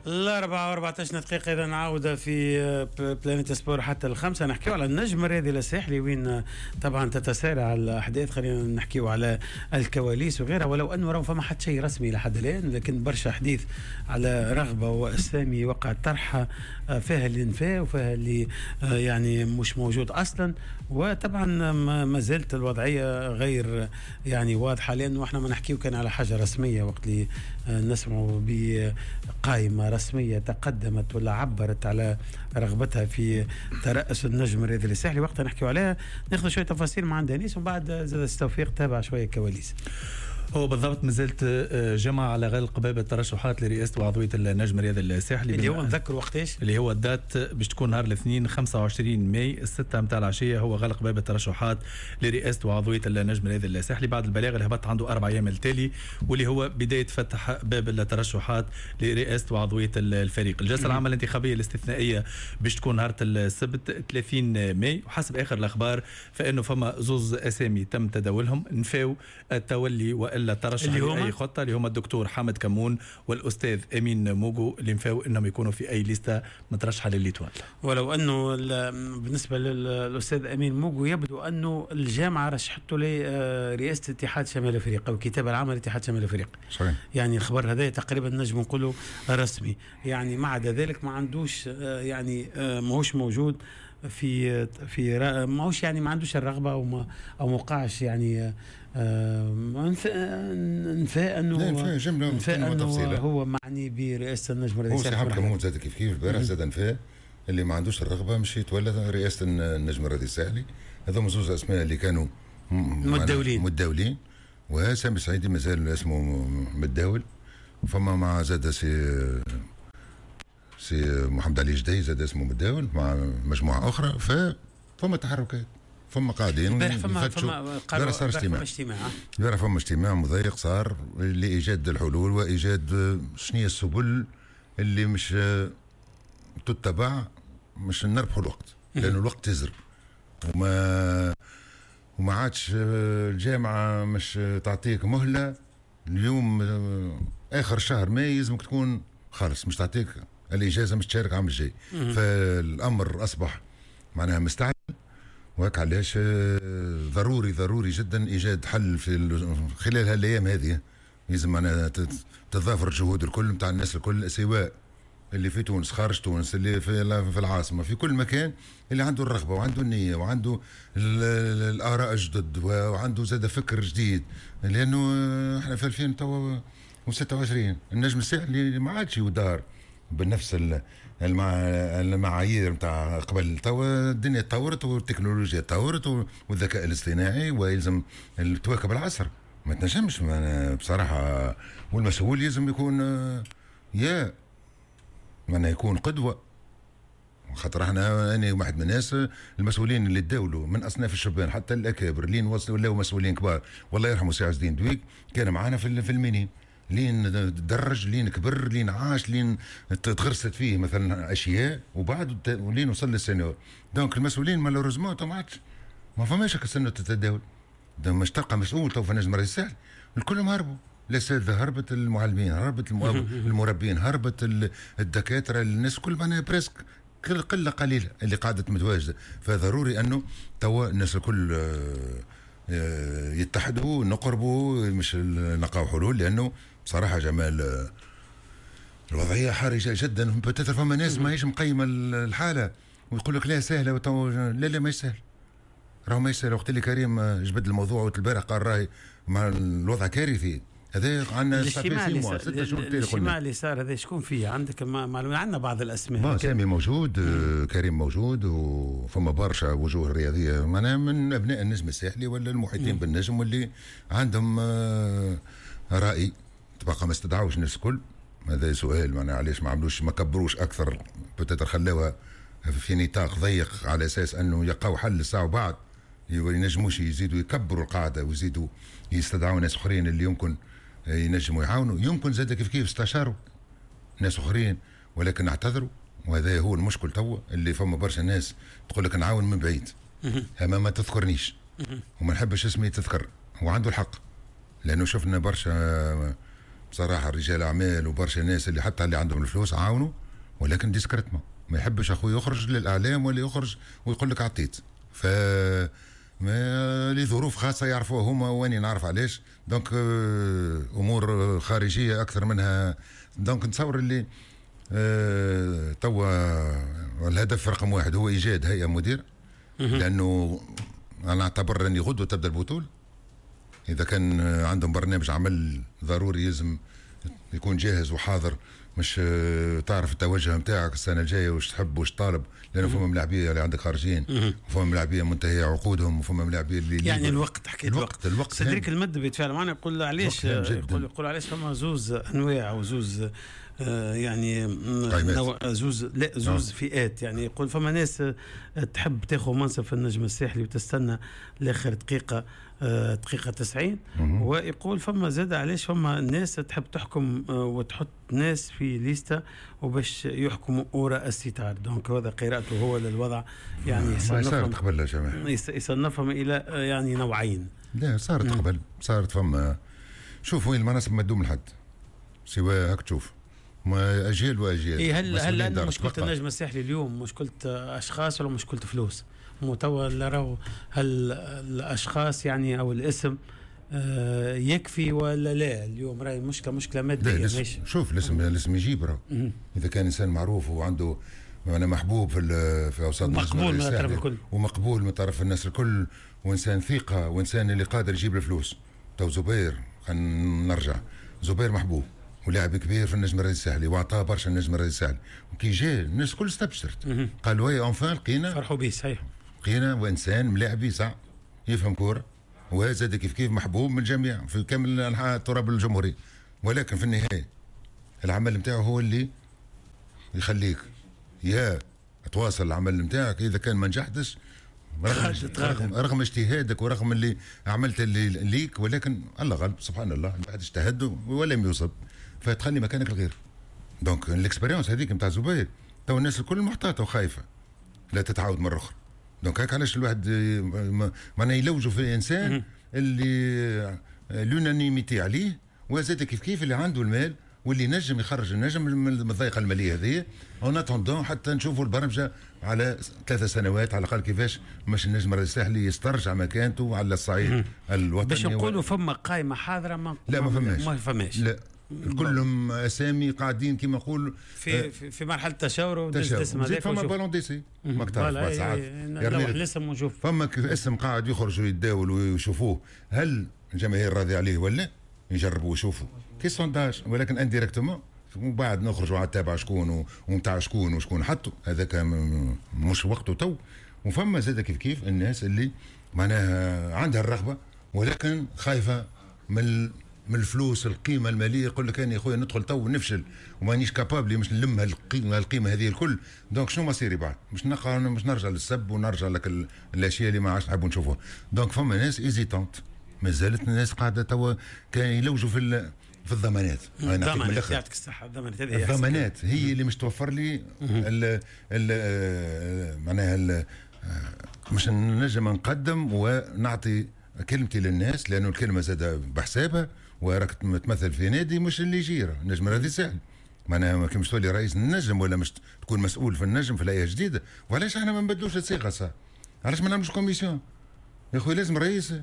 4:14، إذا عودة في Planète Sport حتى 5. نحكيو على النجم الرياضي الساحلي وين طبعا تتسارع الأحداث. خلينا نحكيو على الكواليس وغيرها، ولو أنه راه فما حتى شيء رسمي لحد الآن، لكن برشا حديث على رغبة وأسامي وقع طرحها، فيها اللي نفاه وفيها اللي يعني مش موجود أصلا. وطبعا ما زالت الوضعية غير يعني واضحة، لأنه احنا ما نحكيو كان على حاجة رسمية وقت اللي نسمعوا بقائمة رسمية تقدمت ولا عبرت على رغبتها في ترأس النجم الرياضي الساحلي، وقتها نحكيو عليها، ناخذ شوية تفاصيل مع دانيس ومن بعد زاد التوفيق تابع شوية كواليس. هو بالضبط مازالت جمعة على غلق باب الترشحات لرئاسة وعضوية النجم الرياضي الساحلي، اللي هو نذكر وقتاش اللي هو ال date باش تكون نهار الاثنين 25 ماي 6 متاع العشية، هو غلق باب الترشحات لرئاسة وعضوية النجم الرياضي الساحلي بعد البلاغ اللي هبط عنده 4 أيام التالي، واللي هو بداية فتح باب الترشحات لرئاسة وعضوية الفريق. الجلسة العامة الانتخابية الاستثنائية باش تكون نهار السبت 30 ماي، وحسب آخر الأخبار فإنه فما زوز أسامي تم تداولهم نفاو التولي وإلا ترشح لأي خطة، اللي هما الدكتور حامد كمون والأستاذ أمين موجو، اللي نفاو أنهم يكونوا في أي ليستة مترشحة ل l'Étoile. ولو أنه بالنسبة للأستاذ أمين موجو يبدو أنه الجامعة رشحته لرئاسة اتحاد شمال أفريقيا والكتابة العامة لاتحاد شمال أفريقيا. صحيح. يعني الخبر هذا تقريبا نجم نقوله رسمي، يعني ما عدا ذلك ما عندوش يعني ماهوش موجود في ماهوش يعني ما عندوش الرغبة أو ما وقعش يعني نفاء انه انه هو معني برئاسة النجم الرياضي. هو سي حامد كمون زاد كيف كيف البارح زاد نفاء اللي ما عندوش الرغبة مش يتولى رئاسة النجم الرياضي الساحلي. هذوما زوز اسماء اللي كانوا متداولين، وسامي سعيدي مازال اسمه متداول. فما مع زاد سي محمد علي جدي زاد اسمه متداول مع مجموعة اخرى. فما تحركات، فما قاعدين. البارح فما صار اجتماع. البارح فما اجتماع مضيق صار لايجاد الحلول وايجاد شنو هي السبل اللي مش تتبع مش نربحوا الوقت، لانه الوقت يزرب وما عادش الجامعة مش تعطيك مهله. اليوم اخر شهر ماي لازمك تكون خالص، مش تعطيك الاجازة مش تشارك عام الجاي. فالامر اصبح معناها مستعجل، وهك علاش ضروري ضروري جدا ايجاد حل في خلال هالايام هذه. لازم معناها تتضافر الجهود الكل نتاع الناس الكل، سواء اللي في تونس، خارج تونس، اللي في العاصمة، في كل مكان، اللي عنده الرغبة وعنده النية وعنده الاراء الجدد وعنده زاد فكر جديد. لانه احنا في 2026 النجم الساحلي ما عادش يدار بنفس المعايير نتاع قبل. توا الدنيا تطورت والتكنولوجيا تطورت والذكاء الاصطناعي، ويلزم تواكب العصر. ما تنجمش بصراحة، والمسؤول لازم يكون يا معناها يكون قدوة. خاطر احنا انا واحد من الناس المسؤولين اللي تداولوا من اصناف الشبان حتى الاكابر لين وصلوا ولاو مسؤولين كبار. والله يرحمه سي عز الدين دويك كان معانا في ال minimes، لين درج، لين كبر، لين عاش، لين تغرست فيه مثلا اشياء، وبعد ولين وصل لل senior. donc المسؤولين malheureusement ما عادش ما فماش هكا السنة تتداول. مش تلقى مسؤول تو في النجم الرئيسي الساحلي، الكل هربوا. الاساتذة هربت، المعلمين هربت، المربين هربت، الدكاترة، الناس كل معناها presque قلة قليله اللي قعدت متواجدة. فضروري انه توا الناس الكل يتحدوا، نقربوا، مش نلقاو حلول. لانه بصراحة جمال الوضعية حرجه جدا. peut-être فما ناس ماهيش مقيمة الحالة ويقول لك لا سهلة، لا لا ماهيش سهل، راهو ماهيش سهل. وقت اللي كريم جبد الموضوع البارح قال راهي مع الوضع كارثي. هذا عندنا الاجتماع اللي صار هذا شكون فيه؟ عندك معلومة؟ عندنا بعض الاسماء. سامي موجود، كريم موجود، وفما برشا وجوه رياضية معناها من ابناء النجم الساحلي ولا المحيطين بالنجم واللي عندهم راي. تبقى ما استدعوش الناس الكل. هذا سؤال معناها علاش ما عملوش، ما كبروش اكثر، peut-être خلاوها في نطاق ضيق على اساس انه يلقاو حل الساعة وبعد ينجموش يزيدوا يكبروا القاعدة ويزيدوا يستدعوا ناس اخرين اللي يمكن ينجموا يعاونوا. يمكن زاد كيف كيف استشاروا ناس اخرين ولكن اعتذروا. وهذا هو المشكل توا، اللي فما برشا ناس تقول لك نعاون من بعيد، اما ما تذكرنيش وما نحبش اسمي تذكر. وعنده الحق، لانه شفنا برشا بصراحة رجال اعمال وبرشا ناس اللي حتى اللي عندهم الفلوس عاونوا، ولكن discrètement، ما يحبش اخوي يخرج للاعلام ولا يخرج ويقول لك عطيت. ف ما لظروف خاصة يعرفوها هما واني نعرف علاش. donc امور خارجية اكثر منها. donc نتصور اللي توا الهدف رقم واحد هو ايجاد هيئة مدير، لانه انا اعتبر اني غدوه تبدا البطولة. اذا كان عندهم برنامج عمل ضروري لازم يكون جاهز وحاضر، مش تعرف التوجه نتاعك السنة الجاية واش تحب واش طالب، لانه فما ملاعبيه اللي عندك خارجين، وفما ملاعبيه منتهية عقودهم، وفما ملاعبيه اللي يعني الوقت، حكيت الوقت. سيدريك المد بيتفاعل معنا، يقول علاش، يقول علاش فما زوز انواع او زوز يعني زوز لا زوز فئات. يعني يقول فما ناس تحب تاخذ منصب في النجم الساحلي وتستنى لاخر دقيقة، دقيقة 90، ويقول فما زاد علاش فما ناس تحب تحكم وتحط ناس في ليستا وباش يحكموا وراء الستار. donc هذا قراءته هو للوضع، يعني صارت قبل يا جماعة، يصنفهم الى يعني نوعين. لا صارت قبل، صارت فما. شوف وين المناصب ما تدوم لحد سواء هاك تشوف ما اجيال واجيال. إيه هل مشكلة النجم الساحلي اليوم مشكلة اشخاص ولا مشكلة فلوس؟ مو توا راهو هل الاشخاص يعني او الاسم يكفي ولا لا؟ اليوم راهي مشكلة مادية. شوف الاسم يجيب راهو. اذا كان انسان معروف وعنده انا محبوب في اوساط، مقبول من طرف الكل، ومقبول من طرف الناس الكل، وانسان ثقة، وانسان اللي قادر يجيب الفلوس. تو زبير، خلينا نرجع، زبير محبوب ولاعب كبير في النجم الرياضي الساحلي، واعطاه برشا النجم الرياضي الساحلي، وكي جا الناس الكل استبشرت، قالوا oui enfin لقينا، فرحوا به. صحيح، لقينا وانسان ملاعبي صح يفهم كورة، وزاد كيف كيف محبوب من الجميع في كامل انحاء التراب الجمهوري. ولكن في النهاية العمل نتاعو هو اللي يخليك يا تواصل العمل نتاعك. اذا كان ما نجحتش رغم اجتهادك ورغم اللي عملت اللي ليك، ولكن الله غالب سبحان الله بعد اجتهد ولم يصب، فتخلي مكانك الغير. donc ال expérience هذيك نتاع زبير تو الناس الكل محتاطه وخايفة لا تتعاود مرة اخرى. donc هاك علاش الواحد معناها يلوجوا في الانسان اللي l'unanimité عليه، وزاد كيف كيف اللي عنده المال واللي نجم يخرج النجم من الضيقه المالية هذه، en attendant حتى نشوفوا البرمجة على 3 سنوات على الاقل كيفاش باش النجم الساحلي يسترجع مكانته على الصعيد الوطني. باش نقولوا فما قائمة حاضره ما لا ما فماش، ما فماش، لا كلهم اسامي قاعدين كما نقول في مرحلة تشاور ودز هذاك. فما ballon d'essai ماك تعرف بعد ساعات يرمي الاسم ونشوف فما اسم قاعد يخرج ويتداول ويشوفوه هل الجماهير راضية عليه ولا يجربوا ويشوفوا كي sondage، ولكن indirectement ومن بعد نخرجوا على التابع شكون ومتاع شكون وشكون حطوا، هذاك مش وقته تو. وفما زاد كيف كيف الناس اللي معناها عندها الرغبة ولكن خايفة من الفلوس، القيمة المالية، يقول لك انا يا خويا ندخل تو نفشل ومانيش capable مش نلم القيمة هذه الكل. donc شنو مصيري بعد؟ مش نقع مش نرجع للسب ونرجع لك الاشياء اللي ما عادش نحبوا نشوفوها. donc فما ناس hésitantes، مازالت الناس قاعدة توا كان يلوجوا في الضمانات. الضمانات يعطيك الصحة، الضمانات هذه الضمانات هي اللي مش توفر لي معناها مش نجم نقدم ونعطي كلمتي للناس، لانه الكلمة زادة بحسابها، وراك تمثل في نادي مش اللي يجيره النجم الرياضي ساهل. معناها ما كيمش تولي رئيس النجم ولا مش تكون مسؤول في النجم في الهيئة الجديدة. وعلاش احنا ما نبدلوش الصيغة صح؟ علاش ما نعملوش commission يا خويا؟ لازم رئيس،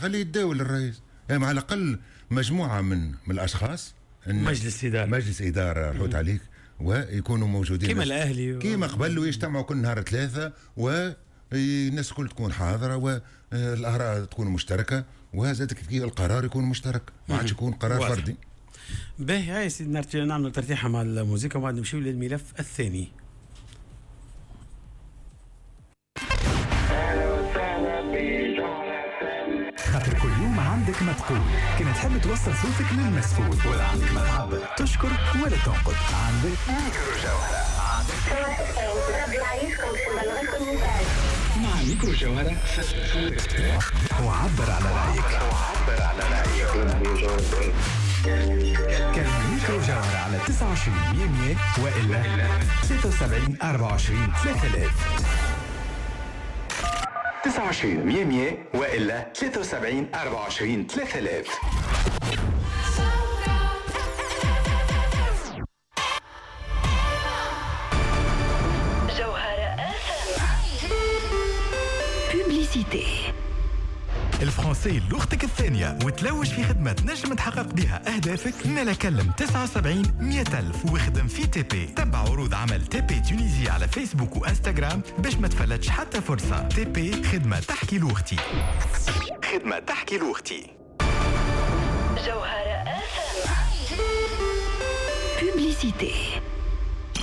خليه يتداول الرئيس، يعني على الاقل مجموعة من الاشخاص، مجلس ادارة، مجلس ادارة حوت عليك، ويكونوا موجودين كما الاهلي كما قبل، ويجتمعوا كل نهار 3 والناس الكل تكون حاضره والاراء تكون مشتركة، وهذا كيف القرار يكون مشترك، ما عادش يكون قرار فردي. باهي هاي سيدي، نعملوا ترتيحه مع الموسيقى وبعد نمشيو للملف الثاني. خاطر كل يوم عندك ما تقول، كان تحب توصل صوتك للمسؤول، ولا عندك ما تعبر تشكر ولا تنقد، عندك ميكرو جوهرة. مع ميكرو جوهرة وعبر على رأيك. كلمة ميكرو جوهرة على 29 100 وإلا 73 24 3000. 29 100 وإلا 73 24 3000. Publicité. ال français لغتك الثانية وتلوج في خدمة تنجم تحقق بها أهدافك؟ مالا كلم 79 100 ألف واخدم في TP. تبع عروض عمل TP Tunisie على فيسبوك وانستغرام باش ما تفلتش حتى فرصة. TP، خدمة تحكي لغتي، خدمة تحكي لغتي. جوهرة. Publicité.